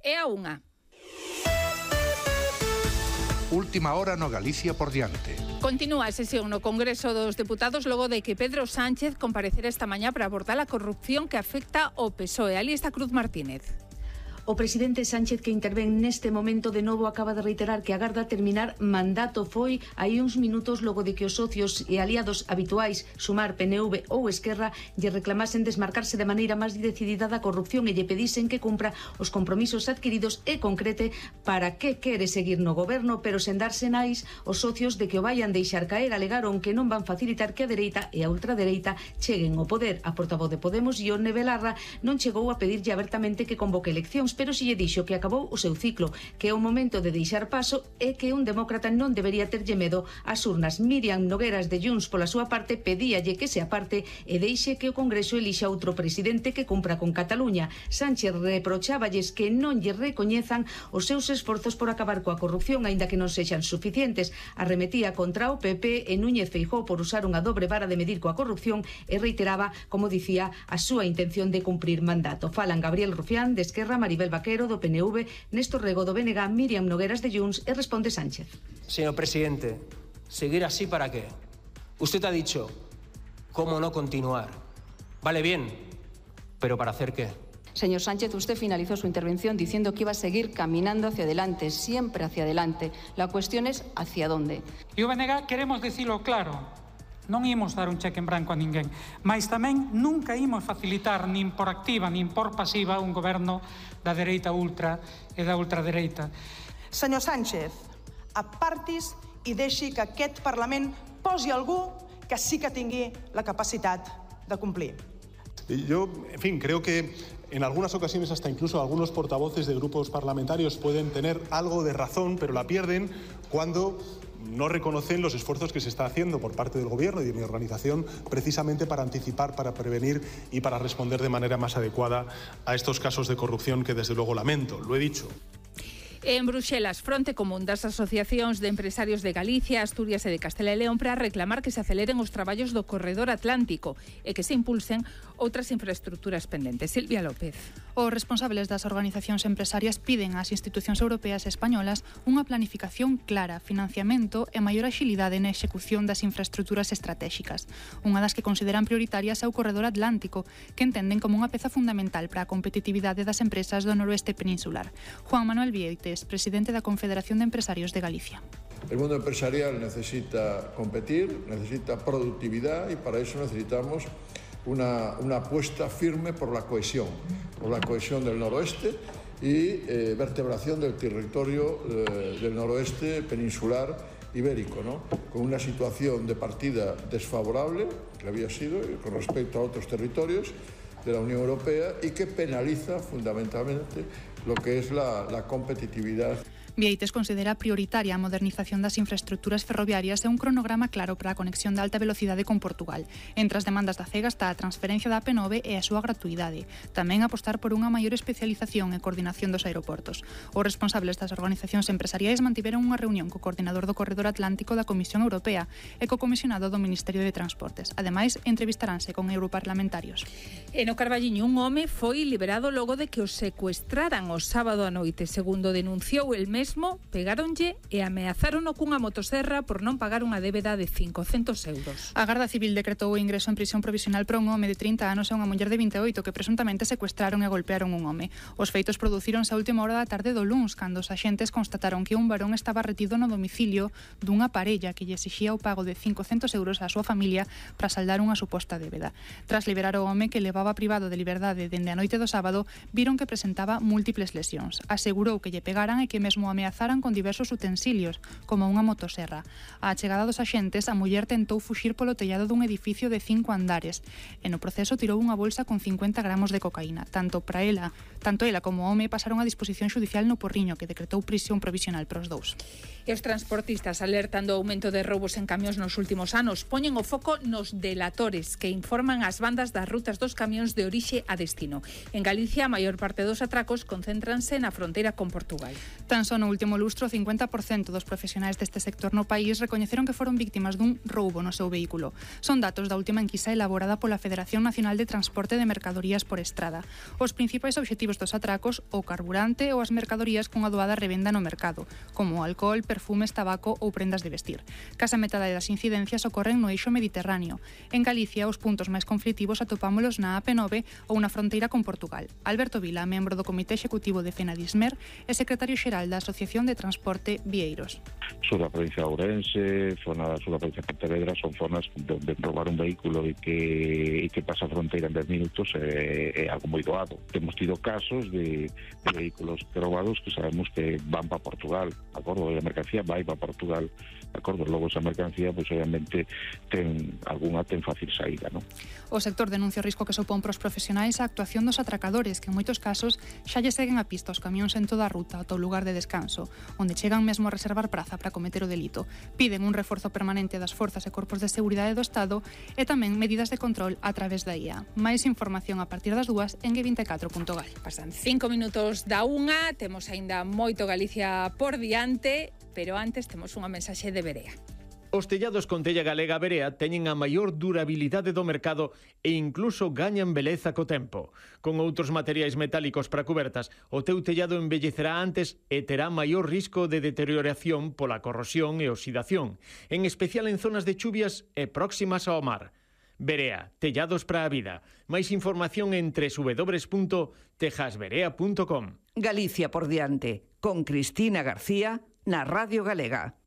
e a 1. Última hora no Galicia por diante. Continúa a sesión no Congreso dos Deputados logo de que Pedro Sánchez comparecera esta mañá para abordar a corrupción que afecta ao PSOE. Ali está Cruz Martínez. O presidente Sánchez, que intervén neste momento de novo, acaba de reiterar que agarda terminar mandato. Foi hai uns minutos logo de que os socios e aliados habituais, Sumar, PNV ou Esquerra, lle reclamasen desmarcarse de maneira máis decidida da corrupción e lle pedisen que cumpra os compromisos adquiridos e concrete para que quere seguir no goberno, pero sen dar sinais os socios de que o vayan deixar caer. Alegaron que non van facilitar que a dereita e a ultradereita cheguen ao poder. A portavoz de Podemos, Ione Belarra, non chegou a pedirlle abertamente que convoque eleccións, pero si lle dixo que acabou o seu ciclo, que é o momento de deixar paso e que un demócrata non debería terlle medo ás urnas. Míriam Nogueras de Junts, pola súa parte, pedíalle que se aparte e deixe que o Congreso elixa outro presidente que cumpra con Cataluña. Sánchez reprocháballes que non lle recoñezan os seus esforzos por acabar coa corrupción, aínda que non sexan suficientes. Arremetía contra o PP e Núñez Feijóo por usar unha dobre vara de medir coa corrupción e reiteraba, como dicía, a súa intención de cumprir mandato. Falan Gabriel Rufián de Esquerra, Maribel Vaquero do PNV, Néstor Rego do BNG, Míriam Nogueras de Junts e responde Sánchez. Señor presidente, ¿seguir así para qué? Usted ha dicho, ¿cómo no continuar? Vale bien, pero ¿para hacer qué? Señor Sánchez, usted finalizó su intervención diciendo que iba a seguir caminando hacia adelante, siempre hacia adelante. La cuestión es ¿hacia dónde? E o BNG queremos dicilo claro. Non imos dar un cheque en branco a ninguén, mas tamén nunca imos facilitar nin por activa nin por pasiva un goberno da dereita ultra e da ultradereita. Senyor Sánchez, apartis i deixi que aquest Parlament posi algú que sí que tingui la capacitat de complir. Yo, en fin, creo que en algunas ocasiones hasta incluso algunos portavoces de grupos parlamentarios pueden tener algo de razón, pero la pierden cuando no reconocen los esfuerzos que se está haciendo por parte del Gobierno y de mi organización precisamente para anticipar, para prevenir y para responder de manera más adecuada a estos casos de corrupción que desde luego lamento. Lo he dicho. En Bruxelas, fronte común das asociacións de empresarios de Galicia, Asturias e de Castela e León para reclamar que se aceleren os traballos do corredor atlántico e que se impulsen outras infraestructuras pendentes. Silvia López. Os responsables das organizacións empresarias piden ás institucións europeas e españolas unha planificación clara, financiamento e maior axilidade na execución das infraestructuras estratégicas. Unha das que consideran prioritarias é o corredor atlántico, que entenden como unha peza fundamental para a competitividade das empresas do noroeste peninsular. Juan Manuel Vieites, presidente da Confederación de Empresarios de Galicia. El mundo empresarial necesita competir, necesita productividad y para eso necesitamos una apuesta firme por la cohesión del noroeste y vertebración del territorio del noroeste peninsular ibérico, ¿no? Con una situación de partida desfavorable, que había sido con respecto a otros territorios de la Unión Europea y que penaliza fundamentalmente lo que es la competitividad. Vieites considera prioritaria a modernización das infraestructuras ferroviarias e un cronograma claro para a conexión de alta velocidade con Portugal. Entre as demandas da CEGA está a transferencia da AP9 e a súa gratuidade. Tamén apostar por unha maior especialización e coordinación dos aeroportos. Os responsables das organizacións empresariais mantiveron unha reunión co coordinador do Corredor Atlántico da Comisión Europea e co comisionado do Ministerio de Transportes. Ademais, entrevistaranse con europarlamentarios. E no Carballiño, un home foi liberado logo de que o secuestraran o sábado a noite. Segundo denunciou el mes, pegáronlle e ameazárono cunha motoserra por non pagar unha débeda de 500 euros. A Garda Civil decretou o ingreso en prisión provisional para un home de 30 anos e unha muller de 28 que presuntamente secuestraron e golpearon un home. Os feitos producíronse a última hora da tarde do luns, cando os axentes constataron que un varón estaba retido no domicilio dunha parella que lle exixía o pago de 500 euros á súa familia para saldar unha suposta débeda. Tras liberar o home que levaba privado de liberdade dende a noite do sábado, viron que presentaba múltiples lesións. Asegurou que lle pegaran e que mesmo ameazaran con diversos utensilios, como unha motoserra. A chegada dos axentes, a muller tentou fuxir polo tellado dun edificio de 5 andares e no proceso tirou unha bolsa con 50 gramos de cocaína. Tanto ela como o home pasaron a disposición xudicial no Porriño, que decretou prisión provisional para os dous. E os transportistas, alertando o aumento de roubos en camións nos últimos anos, poñen o foco nos delatores que informan as bandas das rutas dos camións de orixe a destino. En Galicia, a maior parte dos atracos concéntranse na fronteira con Portugal. Tan só nun No último lustro, 50% dos profesionais deste sector no país recoñeceron que foron víctimas dun roubo no seu vehículo. Son datos da última enquisa elaborada pola Federación Nacional de Transporte de Mercadorías por Estrada. Os principais obxectivos dos atracos, o carburante ou as mercadorías con adoada revenda no mercado, como alcohol, perfumes, tabaco ou prendas de vestir. Case a metade das incidencias ocorren no eixo mediterráneo. En Galicia, os puntos máis conflitivos atopámolos na AP9 ou na fronteira con Portugal. Alberto Vila, membro do Comité Executivo de FENADISMER e secretario xeral da Asociación de Transporte Vieiros. Sobre a provincia de Ourense, sobre a provincia de Pontevedra, son zonas donde robar un vehículo e que pasa a fronteira en 10 minutos é algo moi doado. Temos tido casos de vehículos robados que sabemos que van para Portugal, acordo, a mercancía vai para Portugal, acordo, logo esa mercancía, pois obviamente ten fácil saída, non? O sector denuncia o risco que supón para os profesionais a actuación dos atracadores, que en moitos casos xa lle seguen a pista os camións en toda a ruta ata o lugar de descanso, onde chegan mesmo a reservar praza para cometer o delito. Piden un reforzo permanente das forzas e corpos de seguridade do Estado e tamén medidas de control a través da IA. Máis información a partir das 2 en g24.gal. Pasan 5 minutos da 1, temos aínda moito Galicia por diante, pero antes temos unha mensaxe de Berea. Os tellados con tella galega Berea teñen a maior durabilidade do mercado e incluso gañan beleza co tempo. Con outros materiais metálicos para cubertas, o teu tellado envellecerá antes e terá maior risco de deterioración pola corrosión e oxidación, en especial en zonas de chuvias e próximas ao mar. Berea, tellados para a vida. Máis información en www.tejasberea.com. Galicia por diante, con Cristina García, na Radio Galega.